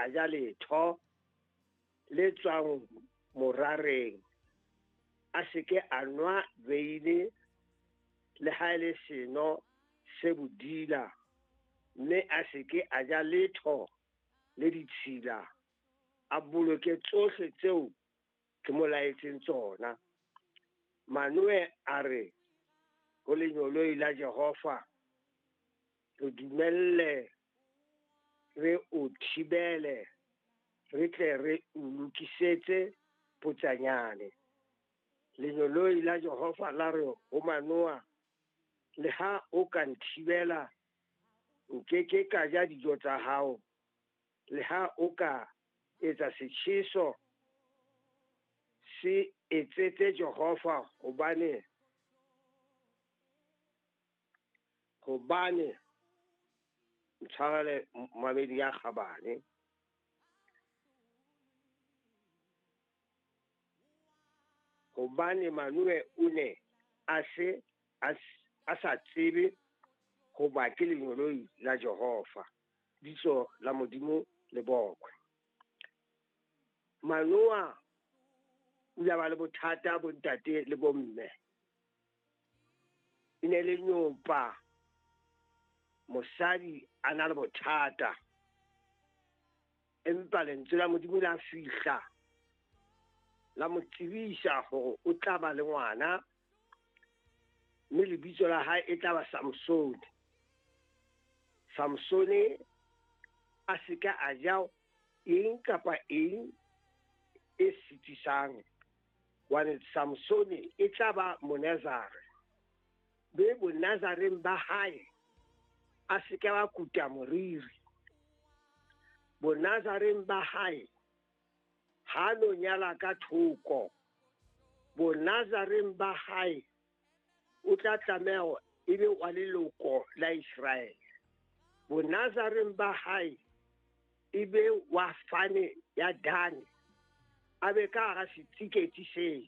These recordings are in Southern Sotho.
a ja letho le tswang morareng, a se ke a nwa veine le ha e le seno se bodila, mme a se ke a ja letho le ditshila, a boloke tsohle tseo ke mo laetseng tsona. Manoe a re ho lengeloi la Jehova, re dumelle re o thibele, re tle re o lokisetse potsanyane. Lengeloi la Jehova la re ho Manoa, le ha o ka nthibela, nke ke ka ja dijo tsa hao, le ha o ka etsa setjheso, se etsetse Jehova, hobane ntshwarele mamedi ya kgabane. Hobane Manoe o ne a se a sa tsebe hoba ke lengeloi la Jehova. Bitso la Modimo le bokwe. Manoa o ile a ba le bothata bontate le bomme. E ne le nyopa, mosadi a na le bothata, empa lentswe la Modimo la fihla la mo tsebisa hore o tla ba le ngwana, mme lebitso la hae e tla ba Samsone. Samsone a se ka a ja eng kapa eng e sitisang, hobane Samsone e tla ba Monazare. Be Bonazareng ba hae a se ka ba kuta moriri. Bonazareng ba hae ha no nyala ka thoko. Bonazareng ba hae o tla tlameha e be wa leloko la Israele. Bonazareng ba hae e be wa fane ya Dane, a be ka hara setsiketsi seo.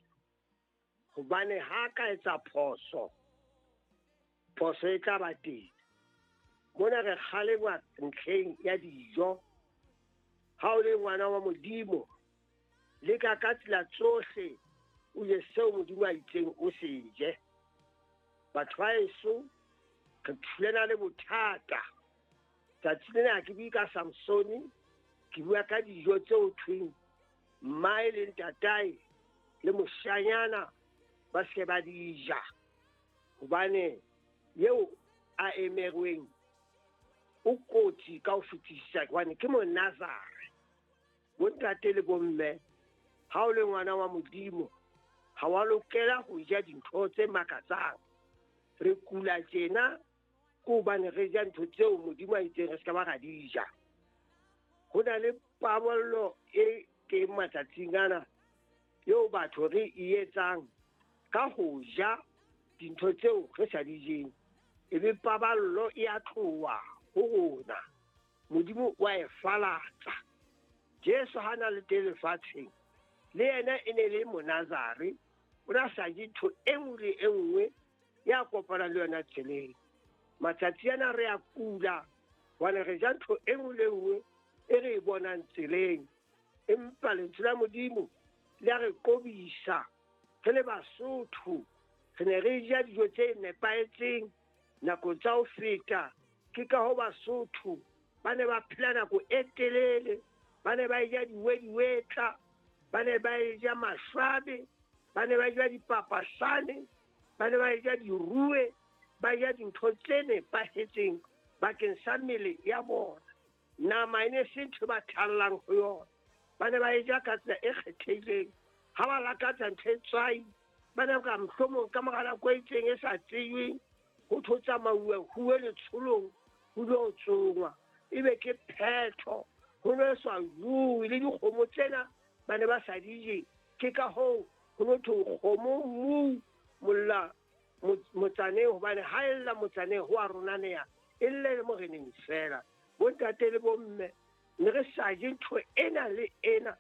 Hobane ha ka etsa phoso, phoso e tla ba teng. Mona re kgalengwa ntlheng ya dijo. Ha o le ngwana wa Modimo, leka ka tsela tsohle o je seo Modimo a itseng o se je. Batho ba heso, re thulana le bothata. Tsatsi lena ke bue ka Samsone, ke bua ka dijo tseo thweng mmae le ntatae le moshanyana ba se ba di ja, hobane eo a emerweng o kotsi ka ho fetisisa, hobane ke Monazare. Bontate le bomme, ha o le ngwana wa Modimo, ha wa lokela ho ja dintho tse makatsang. Re kula tjena ke hobane re ja ntho tseo Modimo a itseng re se ka ba ra di ja. Ho na le paballo e teng matsatsing ana eo batho re e etsang ka ho ja dintho tseo re sa di jeng, ebe paballo e a tloha ho rona. Modimo wa e falatsa. Jesu ha na le teng lefatsheng, le yena e ne le Monazare, o ne a sa je ntho e nngwe le e nngwe ya kopana le yona tseleng. Matsatsi ana re a kula hobane re ja ntho e nngwe le nngwe e re e bonang tseleng, empa lentswe la Modimo le a re qobisa. Re le Basotho re ne re ja dijo tse nepahetseng nako tsa ho feta. Ke ka ho Basotho ba ne ba phela nako e telele, ba ne ba ja diwediwetla, ba ne ba ja mashwabe, ba ne ba ja dipapasane, ba ne ba ja dirue, ba ja dintho tse nepahetseng bakeng sa mmele ya bona. Nama e ne se ntho ba thallang ho yona, ba ne ba e ja ka tsela e kgethehileng. Ha ba lakatsa ntho e tswai, ba ne ka mohlomong ka mora nako e itseng e sa tsejweng, ho tho tsamauwe huwe letsholong, ho lo tsongwa, ebe ke phetho. Ho no sa jowe le dikgomo tsena ba ne ba sa di je. Ke ka hoo ho no thwe kgomo mmu molla motsaneng, hobane ha e lla motsaneng ho a ronaneha, e lle le moreneng fela. Bontate le bomme, ne re sa je ntho ena le ena,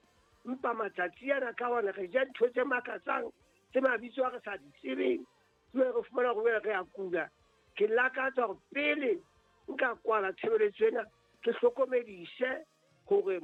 empa matsatsi ana ka hona re ja ntho tse makatsang, tse mabitso a re sa di tsebeng, jwale re fumana hore re a kula. Ke lakatsa hore pele nka kwala tshebeletso ena, ke hlokomedise hore